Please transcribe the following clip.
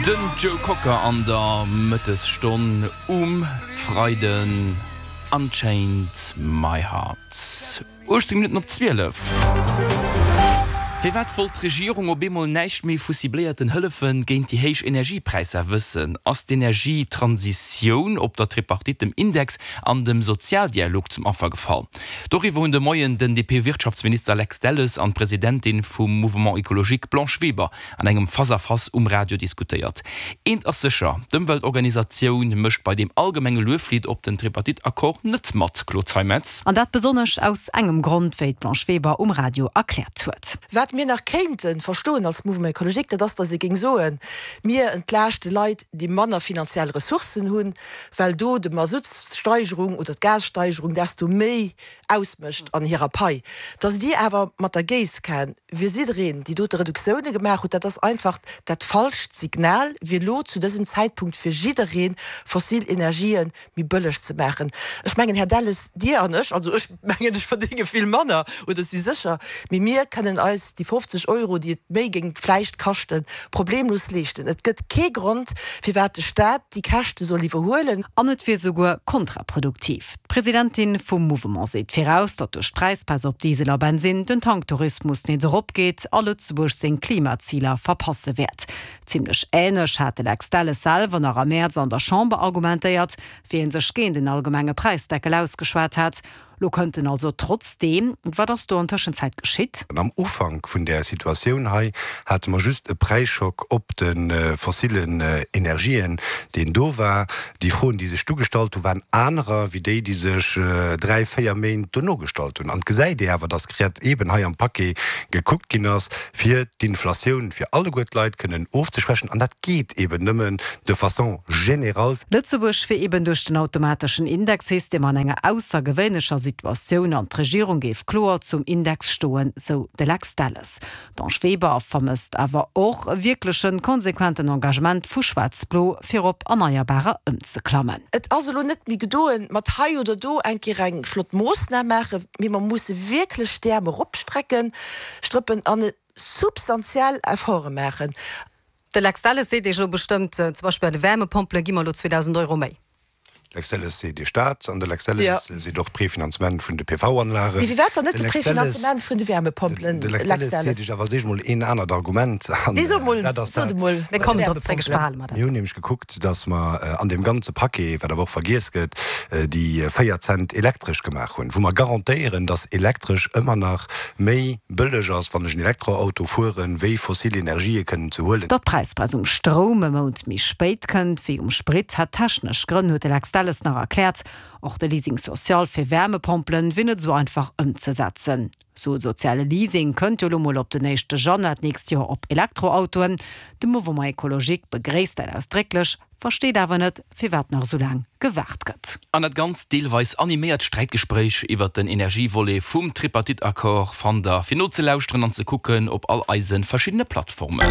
Den Joe Cocker an der Mëttesstonn um Freiden, Unchained My Heart. 18 Minutten op 12. Firwat wollt d'Regierung op eemol näischt méi vu cibléierten Hëllefe géint déi héich Energiepräisser wëssen? Ass d'Energietransitioun op der Tripartite dem Index an dem Sozialdialog zum Affer gefall? Doriwwer hunn de Moien den DP-Wirtschaftsminister Lex Delles an d'Presidentin vum Mouvement Ecologique Blanche Weber an engem Face-à-Face um Radio diskutéiert. Eent ass sécher, D'Ëmweltorganisatioun mécht bei deem allgemenge Lueflidd op den Tripartite-Accord net mat, Claude Zeimetz. An dat besonnesch aus engem Grond, wéi d'Blanche Weber um Radio erkläert huet. Wat mir nach kéinte verstoen als Mouvement Ecologique, dat ass, datt ee géing soen, mir entlaaschte Leit, déi manner finanziell Ressourcen hunn, well do de Masuttssteigerung oder d'Gassteigerung desto méi ausmécht an hirer Pai. Datt Dir awer mat der Géisskan Wier jiddereen déi dote Reduktioune gemaach hutt, dat ass einfach dat falscht Signal, wier elo zu dësem Zäitpunkt fir jidderee fossil Energië méi bëlleg ze maachen. Ech mengen, Här Delles, Dir an ech, also ech mengen, ech verdénge vill manner, oder si sécher, mee mir kënnen eis déi 50 Euro, déi et méi géing vläicht kaschten, problemlos leeschten. Et gëtt kee Grond, firwat de Staat déi Käschte soll iwwerhuelen. An et wier souguer kontraproduktiv. D'Presidentin vum Mouvement seet viraus, datt duerch d'Präisbaisse op Diesel a Bensinn den Tanktourismus nees eropgeet a Lëtzebuerg seng Klimaziler verpasse wäert. Zimmlech änlech hat de Lex Delles selwer nach am Mäerz an der Chamber argumentéiert, wéi e sech géint en allgemenge Präisdeckel ausgeschwat hat. Lo kënnt en also trotzdeem. Wat ass do an Tëschenzäit geschitt? Am Ufank vun där Situatioun hei hate mer just e Präisschock op de fossillen Energien, deen do war. Déi Froen, déi sech du gestallt hu waren anerer wéi déi, déi sech dräi, véier Méint dono gestallt hunn. An et gesäit ee awer, datt grad eeben hei am Paquet gekuckt ginn ass, fir d'Inflatioun fir alleguer d'Leit kënnen ofzeschwächen. An dat geet eeben nëmmen de façon générale. Lëtzebuerg wier eeben duerch den automateschen Indexsystem an enger aussergewéinlecher Situatioun an d'Regierung géif kloer zum Index stoen, sou de Lex Delles. D'Blanche Weber vermësst awer och e wierklechen, konsequenten Engagement vu Schwaarz-Blo, fir op Erneierbarer ëmzeklammen. Et ass elo net méi gedoen mat hei oder do eng Kéier eng flott Moossnam maachen, mee mer musse wierklech d'Äerm eropstrecken, strëppen an substantiell Efforte maachen. De Lex Delles seet Iech elo bestëmmt, zum Beispill bei de Wärmepompele gi mer elo 2.000 Euro méi. Lex Delles seet Iech dat, an de Lex Delles seet och d'Prefinanzement vun de PV-Anlagen. Mee firwat dann net de Prefinanzement vun de Wärmepompelen, De Lex Delles seet Iech awer als éischt emol een anert Argument, an dat ass dat, Mir kommen drop zréck, ech verhale mer dat. Mir hunn nämlech gekuckt, datt mer an deem ganze Paquet, wat awer och vergiess gëtt, déi 4 Cent elektresch gemaach hunn, wou mer garantéieren, datt elektresch ëmmer nach méi bëlleg ass, wann ech en Elektroauto fueren, wéi fossil Energië kënnen ze huelen. Datt d'Präisbremms um Stroum e Mount méi spéit kënnt wéi um Sprit, hätt technesch Grënn, huet de Lex Delles nach erkläert. Och de Leasing social fir Wärmepompelen wier net esou einfach ëmzesetzen. Sou e soziale Leasing kënnt jo elo mol op den éischte Januar d'nächst Joer op Elektroautoen. De Mouvement Ecologique begréisst dat ausdrécklech, versteet awer net, firwat nach esou laang gewaart gëtt. An dat ganzt deelweis animéiert Sträitgespréich iwwert den Energievolet vum Tripartite-Accord fannt der fir nozelauschteren an ze kucken op all eise verschiddene Plattformen.